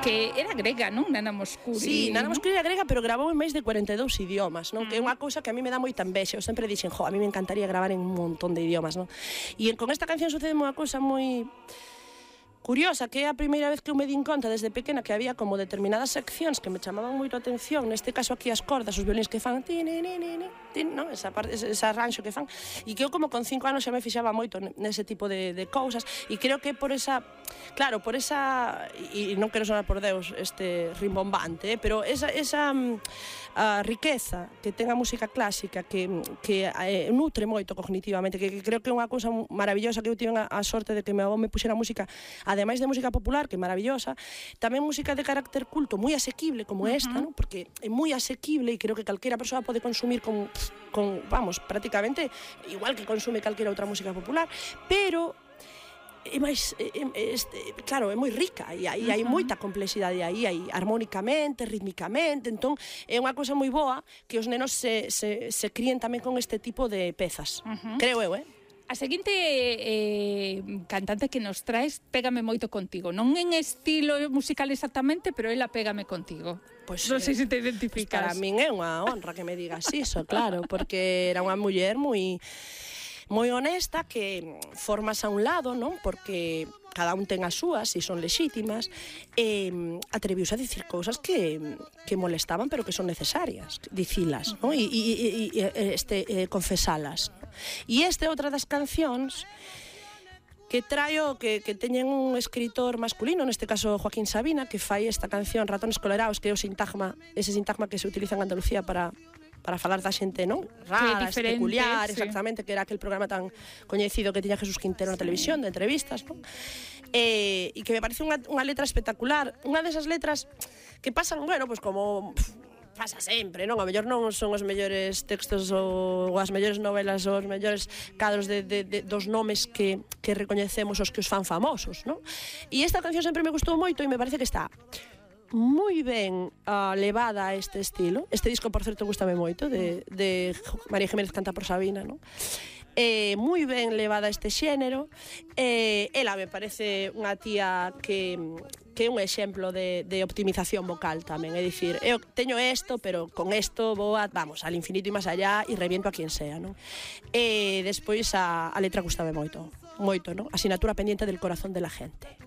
que era grega, non? Nana Mouskouri. Sí, Nana Mouskouri era grega, pero gravou en máis de 42 idiomas, non? Que é unha cousa que a mí me dá moita envexa. Eu sempre dixen, a mí me encantaría gravar en un montón de idiomas, non? E con esta canción sucede unha cousa moi curiosa, que é a primeira vez que eu me din conta desde pequena que había como determinadas seccións que me chamaban moito a atención, neste caso aquí as cordas, os violíns que fan non? Esa arranxo que fan, e que eu como con 5 anos xa me fixaba moito nese tipo de cousas, e creo que por esa, claro, por esa, e non quero sonar por Deus rimbombante, pero esa a riqueza que ten a música clásica que nutre moito cognitivamente, que creo que é unha cousa maravillosa, que eu tive a sorte de que meu avó me puxera música, ademais de música popular, que é maravillosa, tamén música de carácter culto, moi asequible como esta, ¿no? Porque é moi asequible e creo que calquera persoa pode consumir con vamos, prácticamente igual que consume calquera outra música popular, pero é máis, claro, é moi rica e aí hai moita complexidade, aí hai armónicamente, rítmicamente, entón é unha cousa moi boa que os nenos se críen tamén con este tipo de pezas, creo eu, A seguinte cantante que nos traes pégame moito contigo, non en estilo musical exactamente, pero ela pégame contigo. Pois, non sei se te identificas. Para min é unha honra que me digas iso, claro, porque era unha muller moi honesta, que formas a un lado, non? Porque cada un ten as súas e son lexítimas, atreviuse a dicir cousas que molestaban, pero que son necesarias dicilas, non? E confesalas. E esta é outra das cancións que traio, que teñen un escritor masculino, neste caso Joaquín Sabina, que fai esta canción Ratones Colerados, que é ese sintagma que se utiliza en Andalucía para falar da xente, non? Rara, peculiar, exactamente, que era aquel programa tan coñecido que tiña Jesús Quintero na televisión, de entrevistas, non? E que me parece unha letra espectacular, unha desas letras que pasan, bueno, pues como pasa sempre, non? A mellor non son os mellores textos ou as mellores novelas ou os mellores cadros dos nomes que recoñecemos os que os fan famosos, non? E esta canción sempre me gustou moito e me parece que está moi ben levada a este estilo. Este disco, por certo, gustame moito, de María Jiménez canta por Sabina, non? Moi ben levada a este xénero. Ela me parece unha tía que é un exemplo de optimización vocal tamén, é dicir, eu teño isto, pero con isto vou vamos, al infinito e máis allá e reviento a quien sea, non? E despois a letra gustame moito, non? Asignatura pendiente del corazón de la gente.